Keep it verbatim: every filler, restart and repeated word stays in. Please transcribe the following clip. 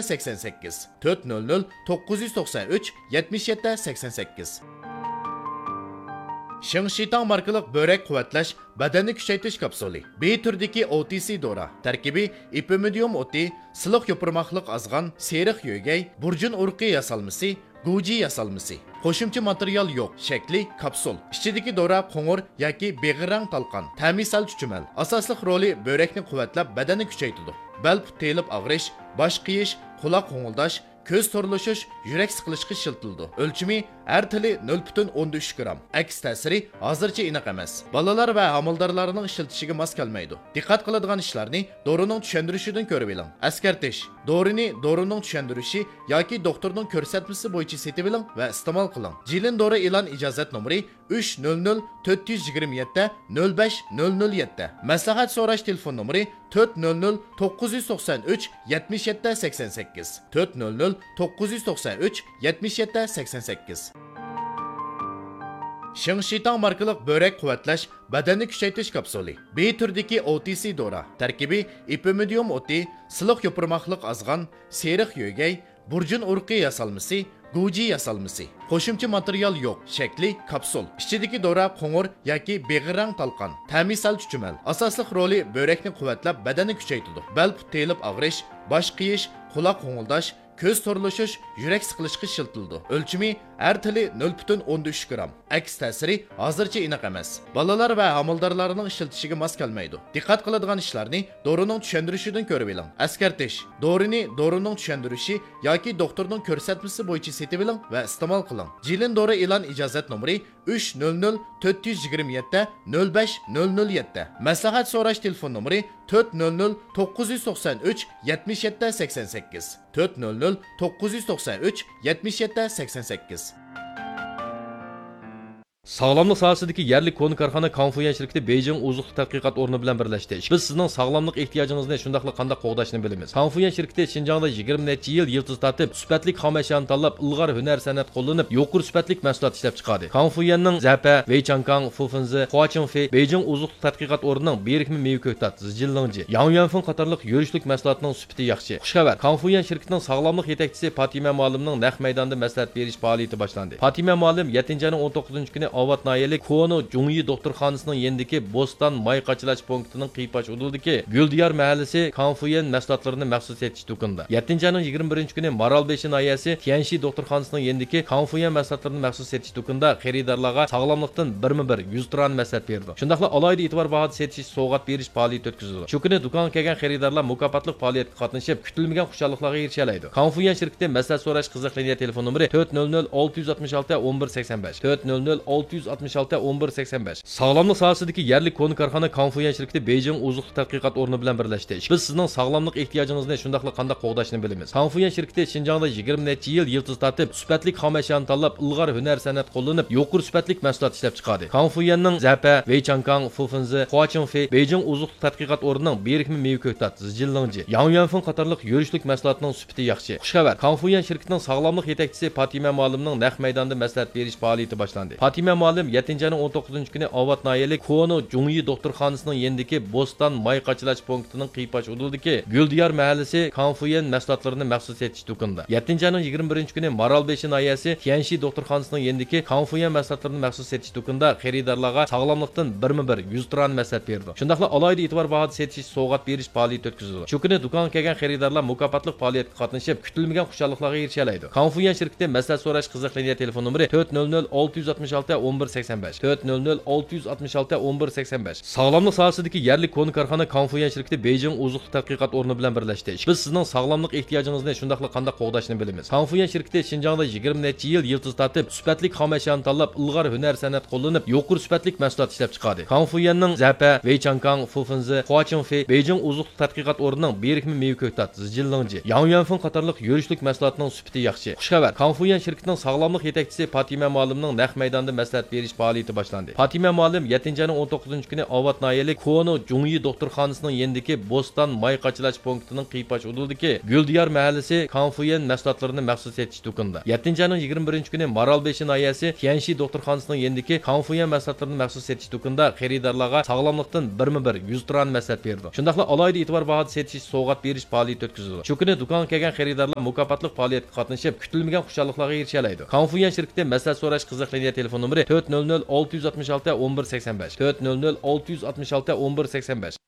سەكسەن سەككىز، تۆت نۆل نۆل، توققۇز يۈز توقسان ئۈچ، يەتمىش يەتتە، سەكسەن سەككىز. شىڭشىتاڭ ماركىلىق بۆرەك قۇۋۋەتلەش، بەدەننى كۈچەيتىش كاپسۇلى. بى تۈرىدىكى ئو تى سى دورا. تەركىبى ئېپىمىدىيۇم ئوتى، سىلىق يوپۇرماقلىق ئازغان، سېرىق يۆگەي، بۇرجۇن ئۇرۇقى ياسالمىسى، گۇجى ياسالمىسى. قوشۇمچە ماتېرىيال يوق. شەكلى كاپسۇل. ئىچىدىكى دورا قوڭۇر ياكى بېغىر رەڭ تالقان. تەمى سەل چۈچۈمەل. ئاساسلىق رولى بۆرەكنى قۇۋۋەتلەپ، بەدەننى كۈچەيتىدۇ. بەل پۇت تېيىلىپ ئاغرىش، باش قېيىش، قۇلاق غوڭۇلداش، كۆز تورلىشىش، يۈرەك سىقىلىشقا ئىشلىتىلىدۇ. ئۆلچىمى ھەر تىلى نۆل پۈتۈن ئوندىن ئۈچ گرام. ئەكس تەسىرى ھازىرچە ئېنىق ئەمەس. بالىلار ۋە ھامىلىدارلارنىڭ ئىشلىتىشىگە ماس كەلمەيدۇ. دىققەت قىلىدىغان ئىشلارنى دورىنىڭ چۈشەندۈرۈشىدىن كۆرۈۋېلىڭ. ئەسكەرتىش: دورىنى دورىنىڭ چۈشەندۈرۈشى ياكى دوختۇرنىڭ كۆرسەتمىسى بويىچە سېتىۋېلىڭ ۋە ئىستېمال قىلىڭ. جىلىن دورا ئېلان ئىجازەت نومۇرى ئۈچ نۆل نۆل، تۆت يۈز يىگىرمە يەتتە، نۆل بەش، نۆل نۆل يەتتە. مەسلىھەت سوراش تېلېفون نومۇرى تۆت نۆل نۆل، توققۇز يۈز توقسان ئۈچ، يەتمىش يەتتە، سەكسەن سەككىز، تۆت نۆل نۆل، توققۇز يۈز توقسان ئۈچ، يەتمىش يەتتە، سەكسەن سەككىز. شىڭشىتاڭ ماركىلىق بۆرەك قۇۋۋەتلەش، بەدەننى كۈچەيتىش كاپسۇلى. بى تۈرىدىكى ئو تى سى دورا. تەركىبى ئېپىمىدىيۇم ئوتى، سىلىق يوپۇرماقلىق ئازغان، سېرىق يۆگەي، بۇرجۇن ئۇرۇقى ياسالمىسى، گۇجى ياسالمىسى. قوشۇمچە ماتېرىيال يوق. شەكلى كاپسۇل. ئىچىدىكى دورا قوڭۇر ياكى بېغىر رەڭ تالقان. تەمى سەل چۈچۈمەل. ئاساسلىق رولى بۆرەكنى قۇۋۋەتلەپ، بەدەننى كۈچەيتىدۇ. بەل پۇت تېيىلىپ ئاغرىش، باش قېيىش، قۇلاق غوڭۇلداش، كۆز تورلىشىش، يۈرەك سىقىلىشقا ئىشلىتىلىدۇ. ئۆلچىمى ھەر تىلى نۆل پۈتۈن ئوندىن ئۈچ گرام. ئەكس تەسىرى ھازىرچە ئېنىق ئەمەس. بالىلار ۋە ھامىلىدارلارنىڭ ئىشلىتىشىگە ماس كەلمەيدۇ. دىققەت قىلىدىغان ئىشلارنى دورىنىڭ چۈشەندۈرۈشىدىن كۆرۈۋېلىڭ. ئەسكەرتىش: دورىنى دورىنىڭ چۈشەندۈرۈشى ياكى دوختۇرنىڭ كۆرسەتمىسى بويىچە سېتىۋېلىڭ ۋە ئىستېمال قىلىڭ. جىلىن دورا ئېلان ئىجازەت نومۇرى ئۈچ نۆل نۆل، تۆت يۈز يىگىرمە يەتتە، نۆل بەش، نۆل نۆل يەتتە. مەسلىھەت سوراش تېلېفون نومۇرى تۆت نۆل نۆل، توققۇز يۈز توقسان ئۈچ، يەتمىش يەتتە، سەكسەن سەككىز، تۆت نۆل نۆل، توققۇز يۈز توقسان ئۈچ، يەتمىش يەتتە، سەكسەن سەككىز. ساغلاملىق ساھەسىدىكى يەرلىك كونا كارخانا كاڭفۇيۈەن شىركىتى بېيجىڭ ئوزۇقلۇق تەتقىقات ئورنى بىلەن بىرلەشتى. بىز سىزنىڭ ساغلاملىق ئېھتىياجىڭىزنى شۇنداقلا قانداق قوغداشنى بىلىمىز. كاڭفۇيۈەن شىركىتى شىنجاڭدا يىگىرمە نەچچە يىل يىلتىز تارتىپ، سۈپەتلىك خام ئەشيانى تاللاپ، ئىلغار ھۈنەر سەنئەت قوللىنىپ، يۇقىرى سۈپەتلىك مەھسۇلات ئىشلەپ چىقاردى. كاڭفۇيۈەننىڭ زەپە، ۋېيچاڭكاڭ، فۇفېنزې، خۇاچىڭفې، بېيجىڭ ئوزۇقلۇق تەتقىقات ئورنىنىڭ بېرىكمە مېۋە كۆكتات، زىجىنلىڭجى، ياڭيۈەنفېڭ قاتارلىق يۈرۈشلۈك مەھسۇلاتنىڭ سۈپىتى ياخشى. خۇش خەۋەر! كاڭفۇيۈەن شىركىتىنىڭ ساغلاملىق يېتەكچىسى پاتىمە مۇئەللىمنىڭ نەق مەيداندا مەسلىھەت بېرىش پائالىيىتى باشلاندى. پاتىمە مۇئەللىم يەتتىنچى ئاينىڭ ئون توققۇزىنچى كۈنى ئاۋات ناھىيەلىك كونا جۇڭيى دوختۇرخانىسىنىڭ يېنىدىكى بوستان ماي قاچىلاش پونكىتىنىڭ قىيپاش ئۇدۇلىدىكى گۈلدىيار مەھەللىسى كاڭفۇيۈەن مەھسۇلاتلىرىنى مەخسۇس سېتىش دۇكىنىدا، يەتتىنچى ئاينىڭ يىگىرمە بىرىنچى كۈنى مارالبېشى ناھىيەسى تيەنشى دوختۇرخانىسىنىڭ يېنىدىكى كاڭفۇيۈەن مەھسۇلاتلىرىنى مەخسۇس سېتىش دۇكىنىدا خېرىدارلارغا ساغلاملىقتىن بىرمۇ بىر يۈز تۇران مەسلىھەت بېرىدۇ. شۇنداقلا ئالاھىدە ئېتىبار باھادا سېتىش سوۋغات بېرىش پائالىيىتى ئۆتكۈزۈلىدۇ. شۇ كۈنى دۇكانغا كەلگەن خېرىدارلار مۇكاپاتلىق پائالىيەتكە قاتنىشىپ، كۈتۈلمىگەن خۇشاللىقلارغا ئېرىشەلەيدۇ. كاڭفۇيۈەن شىركىتى مەسلىھەت سوراش قىزىق لىنىيە تېلېفون نومۇرى تۆت نۆل نۆل، ئالتە يۈز ئاتمىش ئالتە، ئون بىر سەكسەن بەش، تۆت نۆل نۆل، ئالتە يۈز ئاتمىش ئالتە، ئون بىر سەكسەن بەش. ساغلاملىق ساھەسىدىكى يەرلىك كونا كارخانا كاڭفۇيۈەن شىركىتى بېيجىڭ ئوزۇقلۇق تەتقىقات ئورنى بىلەن بىرلەشتى. بىز سىزنىڭ ساغلاملىق ئېھتىياجىڭىزنى شۇنداقلا قانداق قوغداشنى بىلىمىز. كاڭفۇيۈەن شىركىتى شىنجاڭدا يىگىرمە نەچچە يىل يىلتىز تارتىپ، سۈپەتلىك خام ئەشيانى تاللاپ، ئىلغار ھۈنەر سەنئەت قوللىنىپ، يۇقىرى سۈپەتلىك مەھسۇلات ئىشلەپ چىقاردى. كاڭفۇيۈەننىڭ زەپە، ۋېيچاڭكاڭ، فۇفېنزې، خۇاچىڭفې، بېيجىڭ ئوزۇقلۇق تەتقىقات ئورنىنىڭ بىرىكمە مېۋە كۆكتات، زىجىنلىڭجى، ياڭيۈەنفېڭ قاتارلىق يۈرۈشلۈك مەھسۇلاتنىڭ سۈپىتى ياخشى. خۇش خەۋەر! كاڭفۇيۈەن شىركىتىنىڭ ساغلاملىق يېتەكچىسى پاتىمە مۇئەللىمنىڭ نەق مەيداندا مەسلىھەت بېرىش پائالىيىتى باشلاندى. پاتىمە مۇئەللىم يەتتىنچى ئاينىڭ ئون توققۇزىنچى كۈنى ئاۋات ناھىيەلىك كونا جۇڭيى دوختۇرخانىسىنىڭ يېنىدىكى بوستان ماي قاچىلاش پونكىتىنىڭ قىيپاش ئۇدۇلىدىكى گۈلدىيار مەھەللىسى كاڭفۇيۈەن مەھسۇلاتلىرىنى مەخسۇس سېتىش دۇكىنىدا، يەتتىنچى ئاينىڭ يىگىرمە بىرىنچى كۈنى مارالبېشى ناھىيەسى تيەنشى دوختۇرخانىسىنىڭ يېنىدىكى كاڭفۇيۈەن مەھسۇلاتلىرىنى مەخسۇس سېتىش دۇكىنىدا خېرىدارلارغا ساغلاملىقتىن بىرمۇ بىر يۈز تۇران مەسلىھەت بېرىدۇ. شۇنداقلا ئالاھىدە ئېتىبار باھادا سېتىش سوۋغات بېرىش پائالىيىتى ئۆتكۈزۈلىدۇ. شۇ كۈنى دۇكانغا كەلگەن خېرىدارلار مۇكاپاتلىق پائالىيەتكە قاتنىشىپ، كۈتۈلمىگەن خۇشاللىقلارغا ئېرىشەلەيدۇ. كاڭفۇيۈەن شىركىتى مەسلىھەت سوراش قىزىق لىنىيە تېلېفون نومۇرى تۆت نۆل نۆل، ئالتە يۈز ئاتمىش ئالتە، ئون بىر سەكسەن بەش، تۆت نۆل نۆل، ئالتە يۈز ئاتمىش ئالتە، ئون بىر سەكسەن بەش. ساغلاملىق ساھەسىدىكى يەرلىك كونا كارخانا كاڭفۇيۈەن شىركىتى بېيجىڭ ئوزۇقلۇق تەتقىقات ئورنى بىلەن بىرلەشتى. بىز سىزنىڭ ساغلاملىق ئېھتىياجىڭىزنى شۇنداقلا قانداق قوغداشنى بىلىمىز. كاڭفۇيۈەن شىركىتى شىنجاڭدا يىگىرمە نەچچە يىل يىلتىز تارتىپ، سۈپەتلىك خام ئەشيانى تاللاپ، ئىلغار ھۈنەر سەنئەت قوللىنىپ، يۇقىرى سۈپەتلىك مەھسۇلات ئىشلەپ چىقاردى. كاڭفۇيۈەننىڭ زەپە، ۋېيچاڭكاڭ، فۇفېنزې، خۇاچىڭفې، بېيجىڭ ئوزۇقلۇق تەتقىقات ئورنىنىڭ بىرىكمە مېۋە كۆكتات، زىجىنلىڭجى، ياڭيۈەنفېڭ قاتارلىق يۈرۈشلۈك مەھسۇلاتنىڭ سۈپىتى ياخشى. خۇش خەۋەر! كاڭفۇيۈەن شىركىتىنىڭ ساغلاملىق يېتەكچىسى پاتىمە مۇئەللىمنىڭ نەق مەيداندا مەسلىھەت مەسلىھەت بېرىش پائالىيىتى باشلاندى. پاتىمە مۇئەللىم يەتتىنچى ئاينىڭ ئون توققۇزىنچى كۈنى ئاۋات ناھىيەلىك كونا جۇڭيى دوختۇرخانىسىنىڭ يېنىدىكى بوستان ماي قاچىلاش پونكىتىنىڭ قىيپاش ئۇدۇلىدىكى گۈلدىيار مەھەللىسى كاڭفۇيۈەن مەھسۇلاتلىرىنى مەخسۇس سېتىش دۇكىنىدا، يەتتىنچى ئاينىڭ يىگىرمە بىرىنچى كۈنى مارالبېشى ناھىيەسى تيەنشى دوختۇرخانىسىنىڭ يېنىدىكى كاڭفۇيۈەن مەھسۇلاتلىرىنى مەخسۇس سېتىش دۇكىنىدا خېرىدارلارغا ساغلاملىقتىن بىرمۇ بىر يۈز تۇرانە مەسلىھەت بېرىدۇ. شۇنداقلا ئالاھىدە ئېتىبار باھادا سېتىش، سوۋغات بېرىش پائالىيىتى ئۆتكۈزىدۇ. شۇ كۈنى دۇكانغا كەلگەن خېرىدارلار مۇكاپاتلىق پائالىيەتكە قاتنىشىپ، كۈتۈلمىگەن خۇشاللىقلارغا ئېرىشەلەيدۇ. كاڭفۇيۈەن شىركىتى مەسلىھەت سوراش قىزىق لىنىيە تېلېفون نومۇرى تۆت نۆل نۆل ئالتە يۈز ئاتمىش ئالتە ئون بىر سەكسەن بەش، تۆت نۆل نۆل ئالتە يۈز ئاتمىش ئالتە ئون بىر سەكسەن بەش.